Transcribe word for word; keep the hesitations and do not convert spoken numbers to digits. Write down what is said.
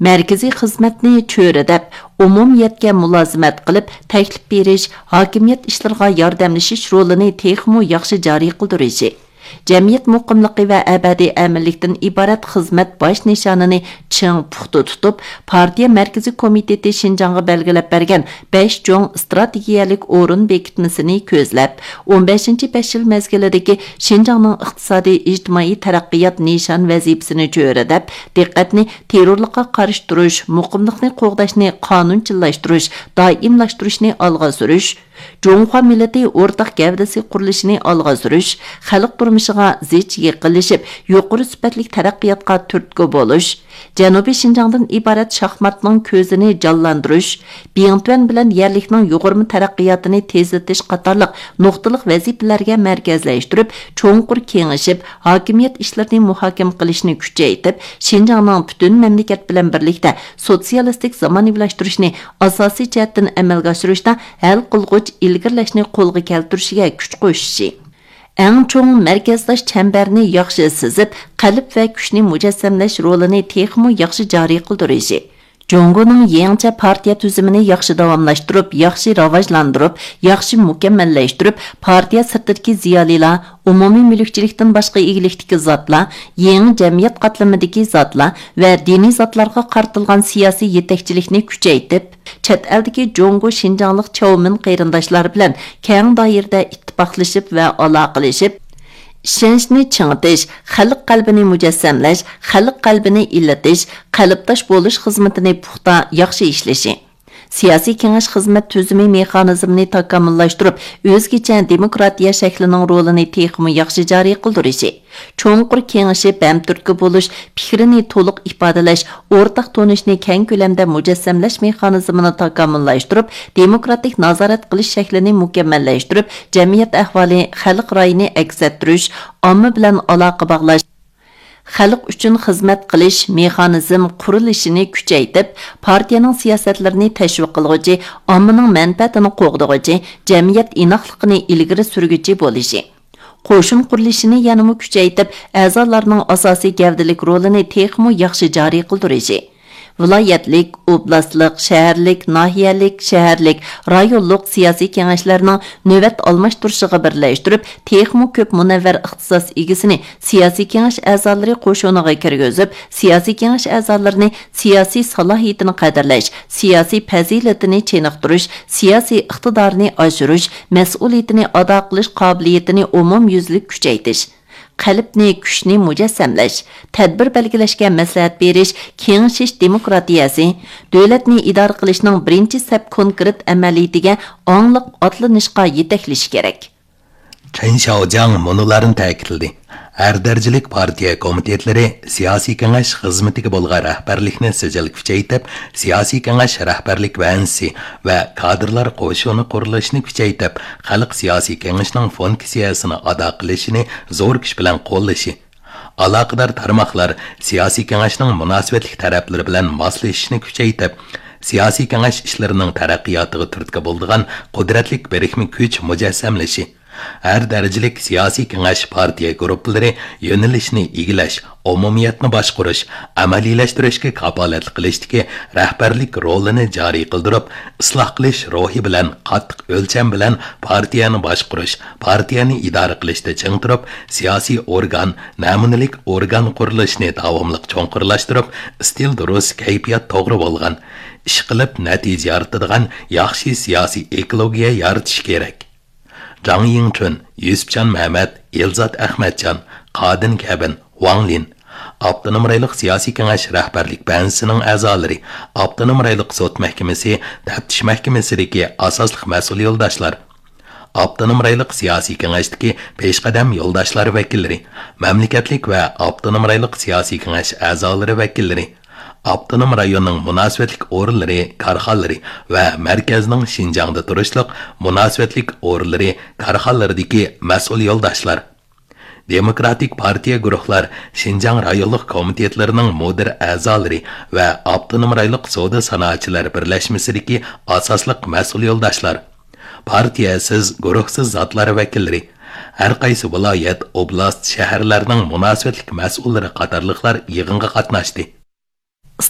مەركىزىي خىزمەتنى چۆرىدەپ، ئومۇمىيەتكە مۇلازىمەت قىلىپ، تەكلىپ بېرىش، ھاكىمىيەت ئىشلىرىغا ياردەملىشىش رولىنى تېخىمۇ ياخشى جارى قىلدۇرۇشى، جەمئىيەت مۇقىملىقى ۋە ئەبەدىي ئەمىنلىكتىن ئىبارەت خىزمەت باش نىشانىنى چىڭ پۇختا تۇتۇپ، پارتىيە مەركىزىي كومىتېتى شىنجاڭغا بەلگىلەپ بەرگەن بەش چوڭ ئىستراتېگىيەلىك ئورۇن بېكىتمىسىنى كۆزلەپ، ئون بەشىنچى بەش يىل مەزگىلىدىكى شىنجاڭنىڭ ئىقتىسادىي، ئىجتىمائىي تەرەققىيات نىشان ۋەزىپىسىنى چۆرىدەپ، دىققەتنى تېررورلۇققا قارشى تۇرۇش، مۇقىملىقنى قوغداشنى قانۇنچىللاشتۇرۇش، دائىملاشتۇرۇشنى ئالغا سۈرۈش، جۇڭخۇا مىللىتى ئورتاق گەۋدىسى قۇرۇلۇشىنى ئالغا سۈرۈش، خەلق تۇرمۇشىغا زىچ يېقىنلىشىپ، يۇقىرى سۈپەتلىك تەرەققىياتقا تۈرتكە بولۇش، جەنۇبىي شىنجاڭدىن ئىبارەت شاھماتنىڭ كۆزىنى جانلاندۇرۇش، بىڭتۈەن بىلەن يەرلىكنىڭ يۇغۇرما تەرەققىياتىنى تېزلىتىش قاتارلىق نۇقتىلىق ۋەزىپىلەرگە مەركەزلەشتۈرۈپ، چوڭقۇر كېڭىشىپ، ھاكىمىيەت ئىشلىرىنى مۇھاكىمە قىلىشنى كۈچەيتىپ، شىنجاڭنىڭ پۈتۈن مەملىكەت بىلەن بىرلىكتە سوتسىيالىستىك زامانىۋىلاشتۇرۇشنى ئاساسىي جەھەتتىن ئەمەلگە ئاشۇرۇشتا ھەل قىلغۇچ ئىلگىرىلەشنى قولغا كەلتۈرۈشىگە كۈچ قوشۇشى، ئەڭ چوڭ مەركەزداش چەمبەرنى ياخشى سىزىپ، قەلب ۋە كۈچنى مۇجەسسەملەش رولىنى تېخىمۇ ياخشى جارى قىلدۇرۇشى، جۇڭگونىڭ يېڭىچە پارتىيە تۈزۈمىنى ياخشى داۋاملاشتۇرۇپ، ياخشى راۋاجلاندۇرۇپ، ياخشى مۇكەممەللەشتۈرۈپ، پارتىيە سىرتىدىكى زىيالىيلار، ئومۇمىي مۈلۈكچىلىكتىن باشقا ئىگىلىكتىكى زاتلار، يېڭى جەمئىيەت قاتلىمىدىكى زاتلار ۋە دىنىي زاتلارغا قارىتىلغان سىياسىي يېتەكچىلىكنى كۈچەيتىپ، چەت ئەلدىكى جۇڭگو شىنجاڭلىق چاۋمىن قېرىنداشلار بىلەن كەڭ دائىرىدە ئىتتىپاقلىشىپ ۋە ئالاقىلىشىپ، ئىشەنچنى چىڭىتىش، خەلق قەلبىنى مۇجەسسەملەش، خەلق قەلبىنى ئىللىتىش، قەلبداش بولۇش خىزمىتىنى پۇختا، ياخشى ئىشلىشى. سىياسىي كېڭەش خىزمەت تۈزۈمى مېخانىزمىنى تاكامۇللاشتۇرۇپ، ئۆزگىچە دېموكراتىيە شەكلىنىڭ رولىنى تېخىمۇ ياخشى جارى قىلدۇرۇشى، چوڭقۇر كېڭىشىپ، ھەمتۈرتكە بولۇش، پىكرىنى تولۇق ئىپادىلەش، ئورتاق تونۇشنى كەڭ كۆلەمدە مۇجەسسەملەش مېخانىزمىنى تاكامۇللاشتۇرۇپ، دېموكراتىك نازارەت قىلىش شەكلىنى مۇكەممەللەشتۈرۈپ، جەمئىيەت ئەھۋالى، خەلق رايىنى ئەكس ئەتتۈرۈش، ئامما بىلەن ئالاقە باغلاش، خەلق ئۈچۈن خىزمەت قىلىش مېخانىزم قۇرۇلۇشىنى كۈچەيتىپ، پارتىيەنىڭ سىياسەتلىرىنى تەشۋىق قىلغۇچى، ئاممىنىڭ مەنپەئەتىنى قوغدىغۇچى، جەمئىيەت ئىناقلىقىنى ئىلگىرى سۈرگۈچى بولۇشى، قوشۇن قۇرۇلۇشىنى يەنىمۇ كۈچەيتىپ، ئەزالارنىڭ ئاساسىي گەۋدىلىك رولىنى تېخىمۇ ياخشى جارى قىلدۇرۇشى، ۋىلايەتلىك، ئوبلاستلىق، شەھەرلىك، ناھىيەلىك، شەھەرلىك، رايونلۇق سىياسىي كېڭەشلەرنىڭ نۆۋەت ئالماشتۇرۇشىغا بىرلەشتۈرۈپ، تېخىمۇ كۆپ مۇنەۋۋەر ئىختىساس ئىگىسىنى سىياسىي كېڭەش ئەزالىرى قوشۇنىغا كىرگۈزۈپ، سىياسىي كېڭەش ئەزالىرىنى سىياسىي سالاھىيىتىنى قەدىرلەش، سىياسىي پەزىلىتىنى چېنىقتۇرۇش، سىياسىي ئىقتىدارىنى ئاشۇرۇش، مەسئۇلىيىتىنى ئادا قىلىش قابىلىيىتىنى ئومۇميۈزلۈك كۈچەيتىش، قەلبنى، كۈچنى مۇجەسسەملەش، تەدبىر بەلگىلەشكە مەسلىھەت بېرىش، كېڭىشىش دېموكراتىيەسى، دۆلەتنى ئىدارە قىلىشنىڭ بىرىنچى سەپ كونكرېت ئەمەلىيىتىگە ئاڭلىق ئاتلىنىشقا يېتەكلىشى كېرەك. چېن شياۋجياڭ مۇنۇلارنى تەكىتلىدى: ھەر دەرىجىلىك پارتىيە كومىتېتلىرى سىياسىي كېڭەش خىزمىتىگە بولغان رەھبەرلىكنى سىجىل كۈچەيتىپ، سىياسىي كېڭەش رەھبەرلىك ۋەنزىسى ۋە كادىرلار قوشۇنى قۇرۇلۇشىنى كۈچەيتىپ، خەلق سىياسىي كېڭىشىنىڭ فۇنكسىيەسىنى ئادا قىلىشىنى زور كۈچ بىلەن قوللىشى، ئالاقىدار تارماقلار سىياسىي كېڭەشنىڭ مۇناسىۋەتلىك تەرەپلىرى بىلەن ماسلىشىشنى كۈچەيتىپ، سىياسىي كېڭەش ئىشلىرىنىڭ تەرەققىياتىغا تۈرتكە بولىدىغان قۇدرەتلىك بىرىكمە كۈچ مۇجەسسەملىشى، ھەر دەرىجىلىك سىياسىي كېڭەش پارتىيە گۇرۇپپىلىرى يۆنىلىشنى ئىگىلەش، ئومۇمىيەتنى باشقۇرۇش، ئەمەلىيلەشتۈرۈشكە كاپالەتلىك قىلىشتىكى رەھبەرلىك رولىنى جارى قىلدۇرۇپ، ئىسلاھ قىلىش روھى بىلەن قاتتىق ئۆلچەم بىلەن پارتىيەنى باشقۇرۇش، پارتىيەنى ئىدارە قىلىشتا چىڭ تۇرۇپ، سىياسىي ئورگان، نەمۇنىلىك ئورگان قۇرۇلۇشىنى داۋاملىق چوڭقۇرلاشتۇرۇپ، ئىستىل دۇرۇس، كەيپىيات توغرا بولغان، ئىشقىلىپ نەتىجە يارىتىدىغان ياخشى سىياسىي ئېكولوگىيە يارىتىش كېرەك. جاڭ يىڭچۈن، يۈسۈپجان مەمەت، ئېلزات ئەخمەتجان، قادىن كەبىن، ۋاڭ لىن. ئاپتونوم رايونلۇق سىياسىي كېڭەش رەھبەرلىك بەنزىسىنىڭ ئەزالىرى، ئاپتونوم رايونلۇق سوت مەھكىمىسى، تەپتىش مەھكىمىسىدىكى ئاساسلىق مەسئۇل يولداشلار، ئاپتونوم رايونلۇق سىياسىي كېڭەشتىكى پېشقەدەم يولداشلار ۋەكىللىرى، مەملىكەتلىك ۋە ئاپتونوم رايونلۇق سىياسىي كېڭەش ئەزالىرى ۋەكىللىرى، ئاپتونوم رايوننىڭ مۇناسىۋەتلىك ئورۇنلىرى، كارخانىلىرى ۋە مەركەزنىڭ شىنجاڭدا تۇرۇشلۇق مۇناسىۋەتلىك ئورۇنلىرى، كارخانىلىرىدىكى مەسئۇل يولداشلار، دېموكراتىك پارتىيە گۇرۇھلار شىنجاڭ رايونلۇق كومىتېتلىرىنىڭ مۇدىر ئەزالىرى ۋە ئاپتونوم رايونلۇق سودا سانائەتچىلەر بىرلەشمىسىدىكى ئاساسلىق مەسئۇل يولداشلار، پارتىيەسىز، گۇرۇھسىز زاتلار ۋەكىللىرى، ھەر قايسى ۋىلايەت، ئوبلاست، شەھەرلەرنىڭ مۇناسىۋەتلىك مەسئۇللىرى قاتارلىقلار يىغىنغا قاتناشتى.